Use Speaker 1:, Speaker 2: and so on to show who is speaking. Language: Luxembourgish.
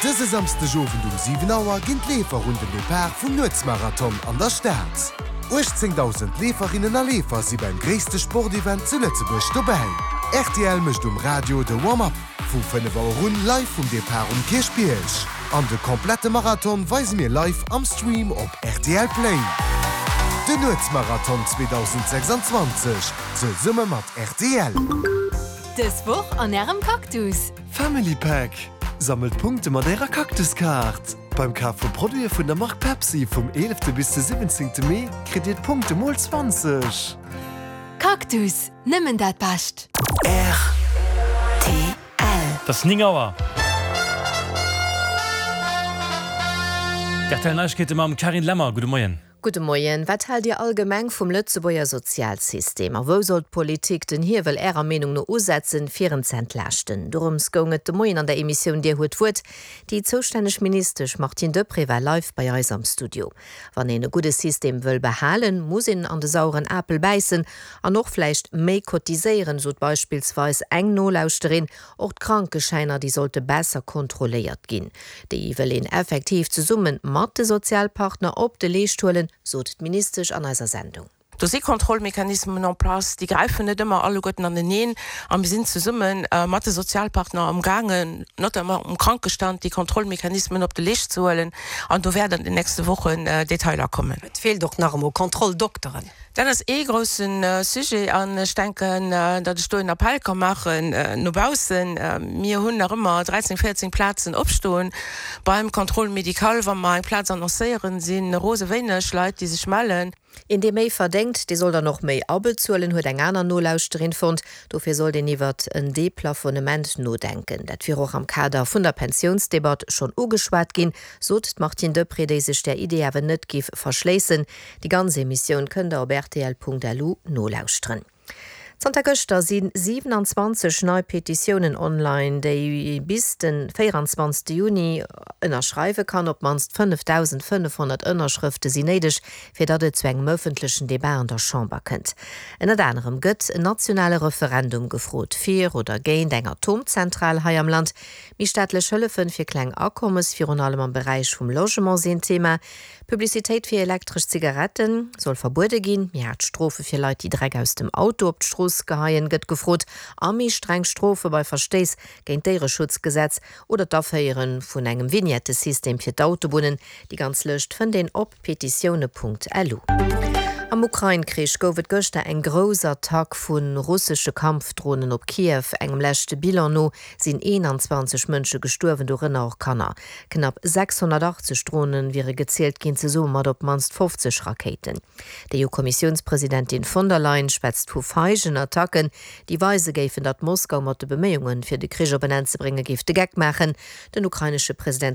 Speaker 1: Dëse Samsdegowend um 7 Auer ginn d'Leefer un den Depart vum Nuetsmarathon an der Stad. 18.000 Leeferinnen a Leefer si beim gréisste Sportevent zu Lëtzebuerg dobäi. Rtl mécht um Radio de Warm-up vu 5 Auer un live vum Depart um Kierchbierg. An de komplette Marathon weise mir live am Stream op rtl Play. Den Nuetsmarathon 2026 zesumme mat rtl.
Speaker 2: Dës Woch an Ärem Cactus!
Speaker 3: Family Pack, Sammelt Punkte mat Ärer Cactus-Kaart! Beim Kaf vu Produite vun der Mark Pepsi vum 11 bis de 17 Mee kritt Dir d'Punkte mol 20!
Speaker 2: Cactus, nëmmen dat Bescht!
Speaker 4: Rtl.
Speaker 5: Et ass 9 Auer. D'RTL Neiegkeete mam Carine Lemmer. Gudde Moien.
Speaker 6: Gudde Moien. Wat haalt Dir allgemeng vum Lëtzebuerger Sozialsystem? A wou soll d'Politik den Hiewel Ärer Meenung no usetzen, fir en z'entlaaschten? Dorëms goung et de Moien an der Emissioun Dir huet d'Wuert. Déi zoustänneg Ministesch Martine Deprez war live bei eis am Studio. Wann een e gudde System wëll behalen, muss een an de saueren Apel bäissen an och vläicht méi cotiséieren, sot beispillsweis eng Nolauschterin. Och d'Krankeschäiner, déi sollte besser kontrolléiert ginn. Déi wëll een effektiv zesumme mat de Sozialpartner op de Leescht huelen, sot d'Ministesch an eiser Sendung.
Speaker 7: Do si Kontrollmechanismen en place, déi gräifen net ëmmer alleguerten aneneen. A mir sinn zesumme mat de Sozialpartner amgaangen, notamment um Krankestand, déi Kontrollmechanismen op de Leescht ze huelen. An do wäerten an den nächste Wochen Detailer kommen.
Speaker 8: Et feelt och nach emol Kontrolldokteren.
Speaker 7: Dat ass ee grousse Sujet an ech denken, datt ech do en Appell ka maachen no baussen. Mir hunn nach ëmmer 13, 14 Plazen opstoen beim Contrôle médical. Wa mer eng Plaz annoncéieren, si rose wéineg Leit, déi sech mellen.
Speaker 6: Een, dee méi verdéngt, dee soll dann och méi abezuelen, huet eng aner Nolauschterin fonnt. Dofir sollt een iwwert en Deplafonnement nodenken. Dat wier och am Kader vun der Pensiounsdebatt schonn ugeschwat ginn, sot d'Martine Deprez, déi sech där Idee awer net géif verschléissen. Déi ganz Emissioun kënnt der op rtl.lu nolauschteren. Zanter gëschter si 27 nei Petitiounen online, déi ee bis de 24 Juni ënnerschreiwe kann. Op d'mannst 5.500 Ënnerschrëfte sinn néideg, fir datt et zu engem ëffentlechen Debat an der Chamber kënnt. Ënnert anerem gëtt en nationale Referendum gefrot, fir oder géint eng Atomzentral hei am Land. Méi staatlech Hëllefe fir kleng Akommes, virun allem am Beräich vum Logement, sinn Thema. Publicitéit fir elektresch Zigarette soll verbuede ginn, méi haart Strofe fir Leit, déi Dreck aus dem Auto op d'Strooss geheien, gëtt gefrot a méi streng Strofe bei Verstéiss géint d'Déiereschutzgesetz oder d'Aféiere vun engem Vignettesystem fir d'Autobunnen. Déi ganz Lëscht fënnt een op petitioune.lu. Am Ukrain-Krich gouf et gëschter eng grouss Attack vu russesche Kampfdronen op Kiew. Engem leschte Bilan no sinn 21 Mënsche gestuerwen, dorënner och Kanner. Knapp 680 Drone wiere gezielt ginn, zesumme mat op d'mannst 50 Rakéiten. D'EU-Kommissiounspresidentin von der Leyen schwätzt vu feigen Attacken, déi weise géifen, datt Moskau mat de Beméiungen, fir de Krich op en Enn ze bréngen, géif de Geck maachen. Den ukrainesche President.